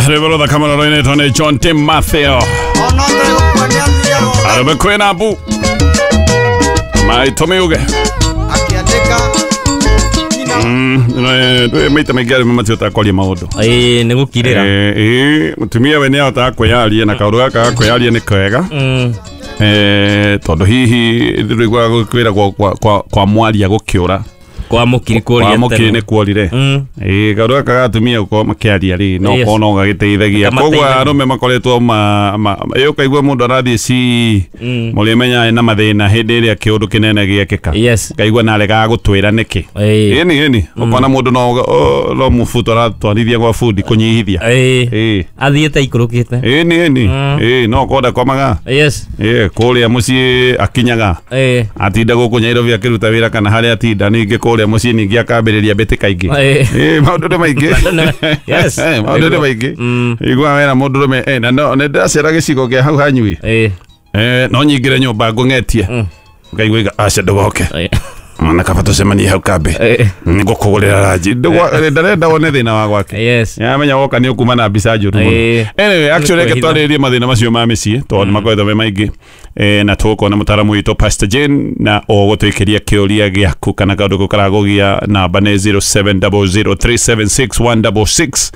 Rwĩmbo rũthaka mũno rũinĩtwo nĩ John Tim Mathew. Arũme kwĩna mbu maitũ miuge maita maingĩ arũme matihotaga kwaria maũndũ. Ĩĩ, nĩ gũkirĩra. Ĩĩ, mũtumia we nĩ ahotaga kwĩyaria na kaũndũ gaka ga kwĩyaria nĩ kega. Tondũ hihi rĩguaga kwĩragwo kwa mwaria gũkĩũra kwa mũkiri kuoria kwa mũkiri nĩ kuorire. Ĩĩ, kaũndũ gaka ga atumia gũkorwo makĩaria rĩ no korwo no gagĩteithagia. Koguo arũme makoretwo ĩ ũkaigua mũndũ arathiĩ ci mũrĩmenya ena mathĩna hĩndĩ ĩrĩa kĩũndũ kĩnene gĩekĩka. Ũkaigua na aregaga gũtwĩra nĩkĩ. Ĩni ĩni ũkona mũndũ no mũbuto aratwarithia gwa bundi kũnyihithia. Ĩĩ, athiĩte ikũrũkĩte. Ĩni ĩni ĩĩ, no ũkorwo ndakomaga. Ĩĩ, kũrĩa mũciĩ akinyaga. Atinda gũkũ Nairobi akĩruta wĩra kana harĩa atinda ningĩ kũrĩa mũciĩ ningĩ akambĩrĩria mbĩtĩka ingĩ. Ĩĩ, maũndũ nĩ maingĩ. Maũndũ nĩ maingĩ. Igua wera mũndũrũme na no nĩ ndĩracera gĩcigo kĩa hau hanyui. No nyingĩre nyũmba ngũng'etie. Ũkaigua iga aca ndũgoke. Mwana kaba tũcemanie hau kambĩ. Nĩngũkũgũrĩra ranji. Ndarenda wone thĩna wa gwake. Yamenya woka nĩ ũkuma na mbica njũru mũno. Anyway, actually reke twarĩrĩrie mathĩna macio ma mĩciĩ tondũ nĩ makoretwo me maingĩ. Na tũgũkorwo na mũtaaramu witũ Pastor Jane na ũgũtũikĩria kĩũria gĩaku kana kaũndũ kau karagũgia namba nĩ 0700376166.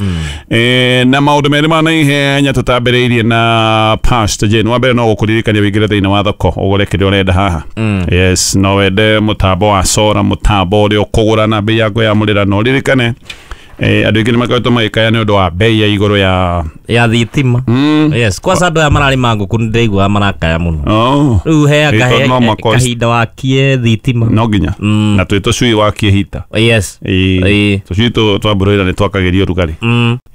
Na maũndũ merĩ ma naihenya tũtambĩrĩirie na Pastor Jane. Wa mbere no gũkũririkania wĩingĩre thĩinĩ wa thoko ũgũre kĩrĩa ũrenda haha. Yes, no wende mũtambo wa sora, mũtambo ũrĩa ũkũgũra na bei ya kwĩyamũrĩra, na ũririkane andũ aingĩ nĩ makoretwo magĩkaya nĩ ũndũ wa bei ya igũrũ ya thitima. Yes, kwanza andũ aya mararĩma ngũkũ nĩ ndĩraigua marakaya mũno. Rĩu heaga kahinda wakie thitima. No nginya. Na twĩ tũcui wakie hita. Yes. Tũcui twa broiler nĩ twakagĩrio ũrugarĩ.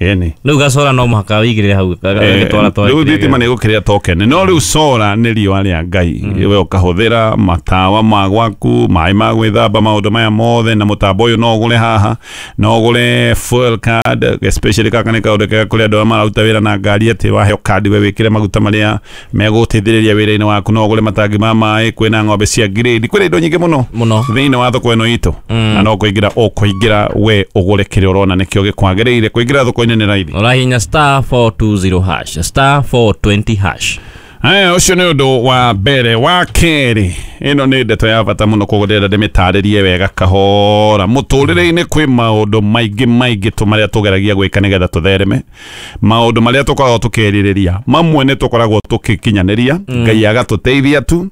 Ĩni. Rĩu gacora no mũhaka wĩigĩrĩre hau gagĩtwara twa. Rĩu thitima nĩ ĩgũkĩrĩa token. No rĩu sora nĩ riũa rĩa Ngai. We ũkahũthĩra matawa ma gwaku, maĩ ma gwĩthamba, maũndũ maya mothe, na mũtambo ũyũ no ũgũre haha, no ũgũre fuel card, especially kaka nĩ kaũndũ kega kũrĩ andũ arĩa mararuta wĩra na ngari atĩ waheo kandi we wĩkĩre maguta marĩa megũteithĩrĩria wĩra-inĩ waku, no ũgũre matangi ma maĩ, kwĩna ng'ombe cia grade, kwĩna indo nyingĩ mũno thĩinĩ wa thoko ĩno itũ. Na no kũingĩra ũkũingĩra we ũgũre kĩrĩa ũrona nĩkĩo gĩkwagĩrĩire. Kũingĩra thoko-inĩ nĩ raithi. Ũrahihinya *420#, *420#. Aya, ũcio nĩ ũndũ wa mbere. Wa kerĩ, ĩno nĩ ndeto ya bata mũno, koguo ndĩrenda ndĩmĩtarĩrie wega kahora. Mũtũrĩre-inĩ kwĩ maũndũ maingĩ maingĩ tu marĩa tũgeragia gwĩka nĩgetha tũthereme, maũndũ marĩa tũkoragwo tũkĩrirĩria, mamwe nĩ tũkoragwo tũgĩkinyanĩria, Ngai agatũteithia tu.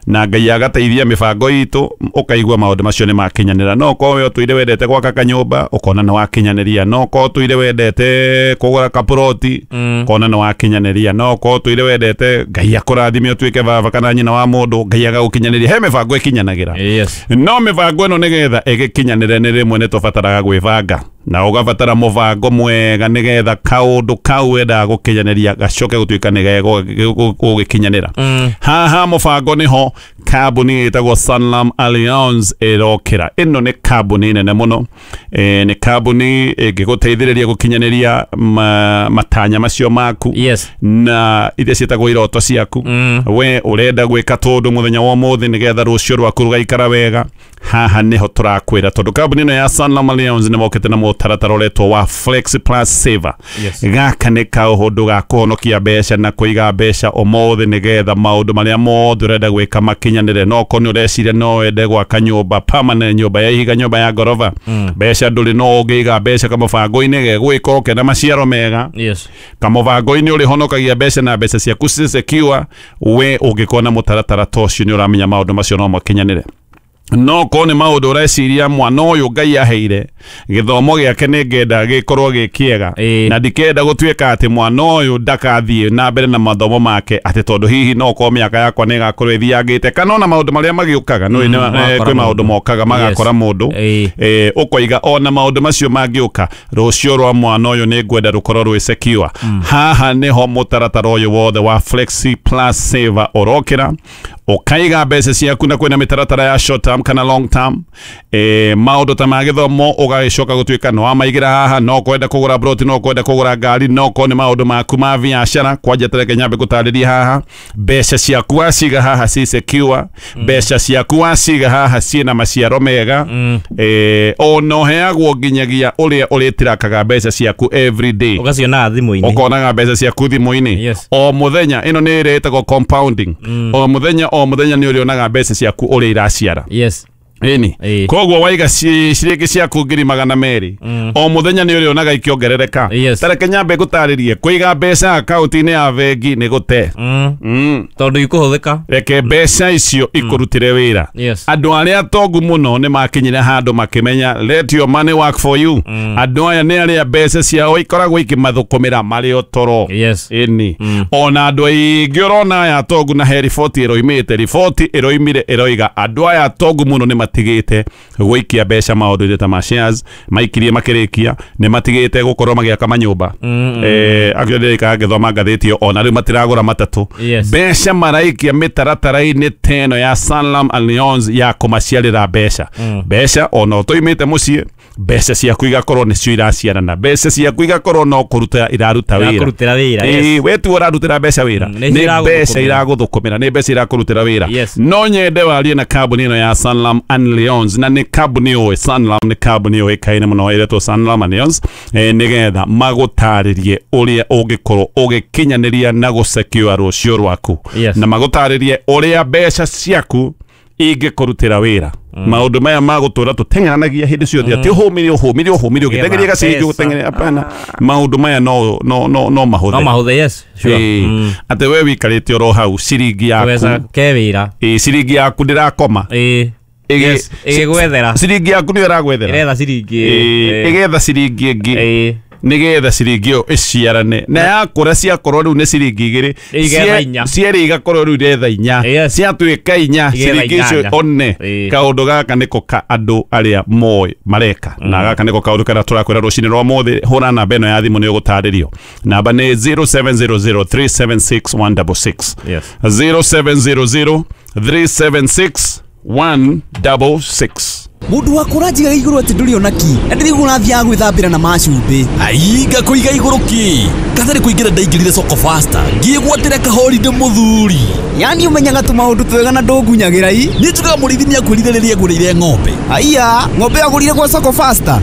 Na Ngai agateithia mĩbango itũ, ũkaigua maũndũ macio nĩ makinyanĩra. No ũkorwo we ũtũire wendete gwaka kanyũmba, ũkona nĩ wakinyanĩria. No ũkorwo ũtũire wendete kũgũra kaburoti, ũkona nĩ wakinyanĩria. No ũkorwo ũtũire wendete Ngai akũrathime ũtuĩke baba kana nyina wa mũndũ, Ngai agagũkinyanĩria. He mĩbango ĩkinyanagĩra. No mĩbango ĩno nĩgetha ĩgĩkinyanĩre nĩ rĩmwe nĩ tũbataraga gwĩbanga, na ũgabatara mũbango mwega nĩgetha kaũndũ kau wendaga gũkinyanĩria gacoke gũtuĩka nĩ gegũgĩkinyanĩra. Haha mũbango nĩho kambuni ĩtagwo Sanlam Alliance ĩrokĩra. Ĩno nĩ kambuni nene mũno. Nĩ kambuni ĩngĩgũteithĩrĩria gũkinyanĩria matanya macio maku. Na iria ciĩtagwo iroto ciaku. We ũrenda gwĩka tũndũ mũthenya wa ũmũthĩ nĩgetha rũciũ rwaku rũgaikara wega. Haha nĩho tũrakwĩra, tondũ kambuni ĩno ya Sanlam Alliance nĩ mokĩte na mũtaratara ũretwo wa Flex Plus Saver. Gaka nĩ kaũndũ ga kũhonokia mbeca na kũiga mbeca ũmũthĩ nĩgetha maũndũ marĩa mothe ũrenda gwĩka makinyanĩre. No ũkorwo nĩ ũreciria no wende gwaka nyũmba permanent, nyũmba ya ihiga, nyũmba ya ngoroba, mbeca ndũrĩ, no ũngĩiga mbeca kamũbango-inĩ gegwĩka kena maciaro mega. Kamũbango-inĩ ũrĩhonokagia mbeca na mbeca ciaku ci secure. We ũngĩkorwo na mũtaratara ta ũcio nĩ ũramenya maũndũ macio no makinyanĩre. No korwo nĩ maũndũ ũreciria mwana ũyũ Ngai aheire gĩthomo gĩake nĩ ngenda gĩkorwo gĩ kĩega, na ndikenda gũtuĩka atĩ mwana ũyũ ndakathiĩ na mbere na mathomo make atĩ tondũ hihi no korwo mĩaka yakwa nĩ ĩgakorwo ĩthiangĩte, kana ona maũndũ marĩa magĩũkaga kwĩ maũndũ mokaga magakora mũndũ. Ũkoiga ona maũndũ macio mangĩũka, rũciũ rwa mwana ũyũ nĩ ngwenda rũkorwo rwĩ secure. Haha nĩho mũtaratara ũyũ wothe wa Flexi Plus Saver ũrokĩra, ũkaiga mbeca ciaku, na kwĩna mĩtaratara ya short term term kana long term. Maũndũ ta ma gĩthomo ũgagĩcoka gũtuĩka no wamaigĩra haha, no kwenda kũgũra broti, no kwenda kũgũra ngari, no korwo nĩ maũndũ maku ma biacara. Kwanja tereke nyambe gũtarĩria haha, mbeca ciaku waciga haha ci secure, mbeca ciaku waciga haha ciĩna maciaro mega. Ona ũheagwo nginyagia ũrĩa ũrĩtirakaga mbeca ciaku every day, ũgacionaga thimũ-inĩ, ũkonaga mbeca ciaku thimũ-inĩ. Yes. O mũthenya, ĩno nĩ ĩrĩa ĩtagwo compounding. O mũthenya o mũthenya nĩ ũrĩonaga mbeca ciaku ũrĩa iraciara. Yes. Ĩni. Ĩĩ. Koguo waiga ciringi ciaku 200,000 o mũthenya nĩ ũrĩonaga ikĩongerereka. Yes. Tareke nyambe ngũtarĩrie, kũiga mbeca akaunti-inĩ ya bengi nĩ gũte. Tondũ ikũhũthĩka. Reke mbeca icio ikũrutĩre wĩra. Yes. Andũ arĩa atongu mũno nĩ makinyire handũ makĩmenya let your money work for you. Andũ aya nĩ arĩa mbeca ciao ikoragwo ikĩmathũkũmĩra marĩ o toro. Yes. Ĩni. Ona andũ aingĩ ũrona aya atongu, na he riboti ĩroimĩte, riboti ĩroimire ĩroiga andũ aya atongu mũno nĩ matigĩte gũikia mbeca maũndũ-inĩ ta ma shares, maikirie makĩrĩkia, nĩ matigĩte gũkorwo magĩaka manyũmba. Actually ndĩrĩkaga ngĩthoma ngathĩti ĩyo, ona rĩu matiragũra matatũ. Yes. Mbeca maraikia mĩtaratara-inĩ ta ĩno ya Sanlam Alliance ya kũmaciarĩra mbeca. Mbeca ona ũtoimĩte mũciĩ, mbeca ciaku igakorwo nĩcio iraciarana, mbeca ciaku igakorwo no kũruta iraruta wĩra. Irakũrutĩra wĩra, Ĩĩ, yes. we tu ũrarutĩra mbeca wĩra, Nĩ nĩ mbeca iragũthũkũmĩra. iragũthũkũmĩra, nĩ mbeca irakũrutĩra wĩra. Yes. No nyende warie na kambuni ĩno ya Sanlam Alliance, na nĩ kambuni ũĩ, Sanlam nĩ kambuni ũĩkaine mũno ĩretwo Sanlam Alliance, nĩgetha magũtarĩrie ũrĩa ũngĩkorwo ũgĩkinyanĩria na gũsecure rũciũ rwaku. Yes. Na magũtarĩrie ũrĩa mbeca ciaku ingĩkũrutĩra wĩra. Maũndũ maya ma gũtũra tũteng'eranagia hĩndĩ ciothe, atĩ ũhũmire ũhũmire ũhũmire ũgĩteng'eria gaciringi ũgĩteng'eria, hapana. Maũndũ maya no no no no mahũthe. No mahũthe, yes. Sure. Ĩĩ. Atĩ we wĩikarĩte oro hau ciringi yaku, Kũbeca ke wĩra. ĩĩ, ciringi yaku ndĩrakoma. Ĩĩ. Yes. Ĩgĩgwethera. Ciringi yaku nĩyo ĩragwethera. Ĩretha ciringi. Ĩĩ, ĩgetha ciringi ĩngĩ. Ĩĩ. Nĩgetha ciringi ĩyo ĩciarane na yakũra, ciakorwo rĩu nĩ ciringi igĩrĩ, Igetha inya. cierĩ igakorwo rĩu iretha inya. Yes. Ciatuĩka inya, Igetha ciringi icio inyanya. one. Ĩĩ. Kaũndũ gaka nĩko ka andũ arĩa moĩ mareka, na gaka nĩko kaũndũ karĩa tũrakwĩra rũcinĩ rwa mũthĩ. Hũra namba ĩno ya thimũ nĩ ũgũtarĩrio. Namba nĩ 0700 376 166. Yes. 0700 376 166. Mundu wakwa ũranjigaga igũrũ atĩ ndũrĩ ona ki, na ndĩraigua ũrathiaga gwĩthambĩra na macumbĩ. Ainga kũiga igũrũ ki katarĩ kũingĩra, ndaingĩrire soko faster ngĩgwatĩra kahorinde mũthuri. Yani ũmenyaga tũmaũndũ twega na ndũngunyagĩra i. Niĩ njugaga mũrĩithi nĩakwĩrire rĩrĩa agũrĩire ng'ombe. Aiya, ng'ombe agũrire gwa soko faster.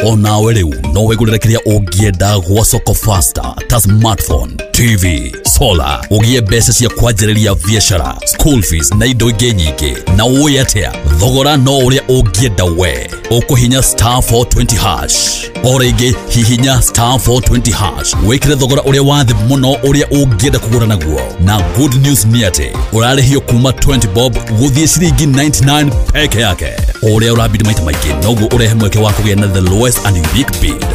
Onawe rĩu no wĩgũrĩre kĩrĩa ũngĩenda gwa soko faster ta smartphone, TV, solar, ũgĩe mbeca cia kwanjĩrĩria biacara, school fees na indo ingĩ nyingĩ. Na ũĩ atĩa, thogora no ũrĩa ũngĩenda we. Ũkũhinya star 420 hash. O rĩngĩ hihinya star 420 hash wĩkĩre thogora ũrĩa wa thĩ mũno ũrĩa ũngĩenda kũgũra naguo. Na good news nĩ atĩ ũrarĩhio kuma 20 bob gũthiĩ ciringi 99 peke yake. O ũrĩa ũrabidi maita maingĩ noguo ũrehe mweke wa kũgĩa na the lowest and unique bid.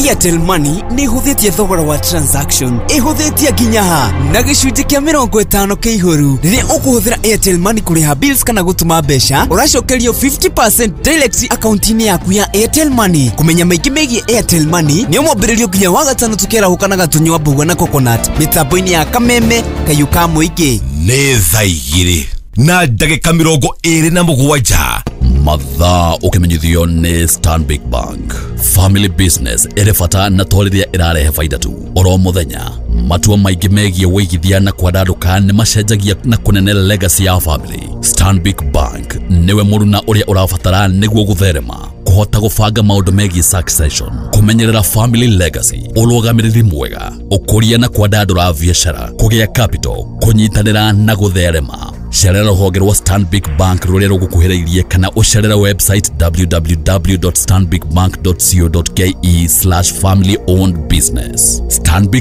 Airtel Money nĩ ĩhũthĩtie thogora wa transaction, ĩhũthĩtie nginya ha na gĩcunjĩ kĩa 50 kĩa ihũru. Rĩrĩa ũkũhũthĩra Airtel Money kũrĩha bills kana gũtũma mbeca, ũracokerio 50% direct akaunti-inĩ yaku ya Airtel Money. Kũmenya maingĩ megiĩ Airtel Money nĩ mwambĩrĩrio nginya wa gatano tũkĩarahũka na gatũnyua mbũgua na coconut mĩtambo-inĩ ya Kameme Kayũ ka mũingĩ. Nĩ thaa igĩrĩ na ndagĩka 27. Mathaa ũkĩmenyithio nĩ Stanbic Bank. Family business ĩrĩ bata na to rĩrĩa ĩrarehe baida tu. Oro mũthenya matua maingĩ megiĩ wĩigithia na kwandandũka nĩ macenjagia na kũnene legacy ya family. Stanbic Bank nĩwe mũruna ũrĩa ũrabatara nĩguo gũtherema, kũhota gũbanga maũndũ megiĩ succession, kũmenyerera family legacy, ũrũgamĩrĩri mwega, ũkũria na kwandandũra biacara, kũgĩa capital, kũnyitanĩra na gũtherema. Cerera rũhonge rwa Stanbic Bank rũrĩa rũgũkuhĩrĩirie kana ũcerere website www.stanbicbank.co.ke/family owned business. Stanbic